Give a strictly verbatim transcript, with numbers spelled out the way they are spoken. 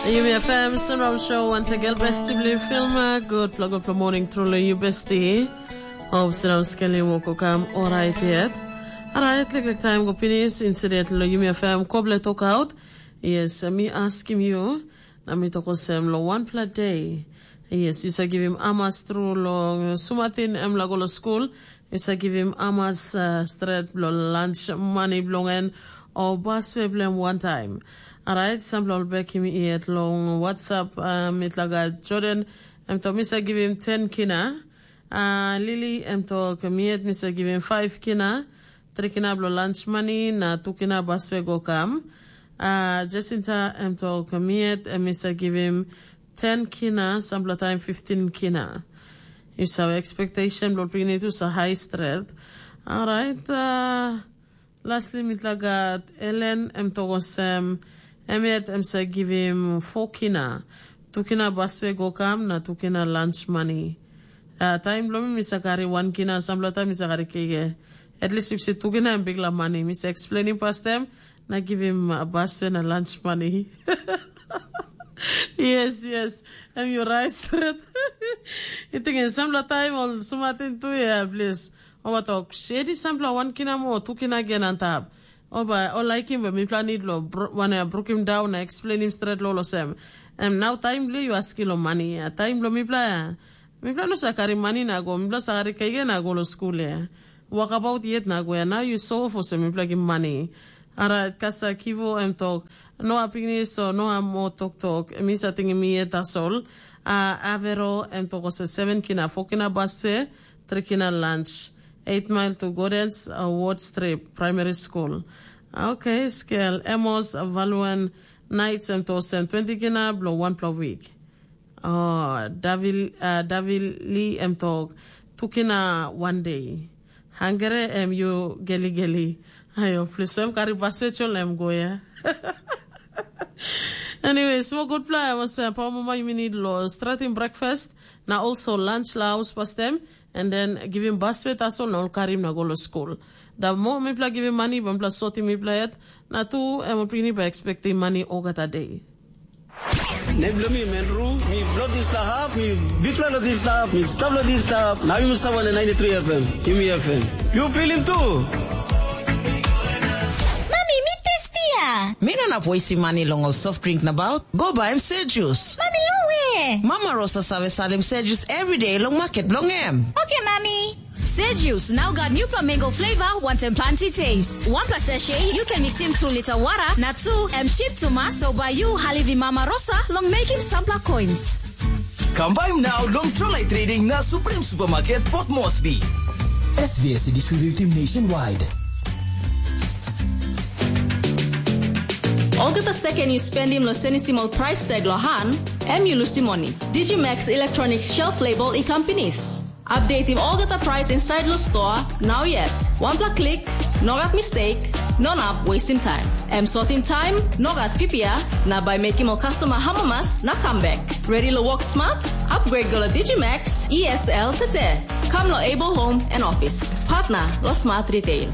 Yumi F M Sunrise Show, once again, besti bli filma. Good pla, good pla morning, truly you besti. Hope sinam skeli woko kam alright yet. Alright, like, like time go finish, incident lo Yumi F M koble talk out. Yes, mi askim you, na mi tok olsem lo one pla day. Yes, you sa givim amas tru long sumatin em lago lo school. Yu sa givim amas uh, stret bilong lunch money bilong en o baswe bilong em wantaim. Alright, sampela ol bekim yet long WhatsApp uh, mitla gat Jordan, em tok mi sa givim ten kina. Uh, Lily, em tok mi yet mi sa givim five kina, tri kina bilong lunch money na tu kina baswe go kam. Uh, Jacinta, em tok mi yet, em mi sa givim ten kina, sampela taim fifteen kina. Yu save expectation bilong pikinini tu sa high stret. Alright, uh, lastly mitla gat Ellen, em tok olsem, em yet em sa givim four kina, tu kina baswe go kam na tu kina lunch money. Uh, taim bilong mi mi sa kari wan kina, sampela taim mi sa kari kege. At least yu si tu kina em bikla money. Mi sa explaining pastem, na givim uh, baswe na lunch money. Yes, yes. Em yu rait stret. Yu tingim sampela taim ol sumatin tu ya, plis. Ol bai tok, sedi sampela wan kina moa, tu kina gen antap. Ol bai, ol laikim bai mipela nid lo wane brukim daun na explainim stret lo olsem. Em nau taim bilong yu askim lo mani ya, taim bilong mipela ya. Mipela no sa karim mani na go, mipela sa karim kaikai na go lo skul ya. Wakabaut yet na go ya, nau yu sof olsem mipela gim mani. Ara kasa kivo em tok, noa pikinini so noa mo toktok, mi sa tingim mi yet tasol. A avero em tok olsem seven kina, four kina baswe, three kina lunch, eight mile to Gordens, uh, Ward Strip Primary School. Okay, skel, Amos, Valuan, Knights em tok olsem twenty kina bilong wanpela wik. Oh, Davil, uh, Davili em tok, tu kina one day. Hangere em yu geligeli. Ayo, plis em kari basechol em go ya. Anyway, so gutpela em olsem papa mama yumi need lo stratim breakfast na also lunch la house pastem, and then givim baswe tasol na ol karim na go lo skul. Da mo mipela givim mani ba mipela sotim mipela yet, na tu em ol pikinini ba expectim mani olgeta day. Nem bilong mi Menru, mi bilong dispela hap, mi bikpela long dispela hap, mi stap long dispela hap, na yumi stap wantaim ninety three F M, yumi F M. Yu pilim tu? Mami, mi testia. Mi no inap wastim mani long ol soft drink nabaut. Go baim sejus. Mami, long we? Mama Rosa save salim sejus everyday long maket bilong em. Okay, Mami. Sejus, now got new mango flavor, wantaim planti taste. One plus sachet, you can mix in two liter water, na two, em cheap to mass, so by you, Halivi Mama Rosa, long making sampler coins. Kam baim nau long Trolai Trading na Supreme Supermarket Port Moresby. S V S distributing nationwide. Olgeta second you spendim lo senisim ol price tag lo han, em you lusim moni. Digimax Electronics Shelf Label i kam pinis. Updateim olgeta price inside lo store, now yet. One pla click, no gat mistake, no nap wasting time. Em sortim time, no gat P P R, na by making ol customer hamamas na come back. Ready lo work smart? Upgrade go lo Digimax E S L tete. Come lo Able Home and Office. Partner lo Smart Retail.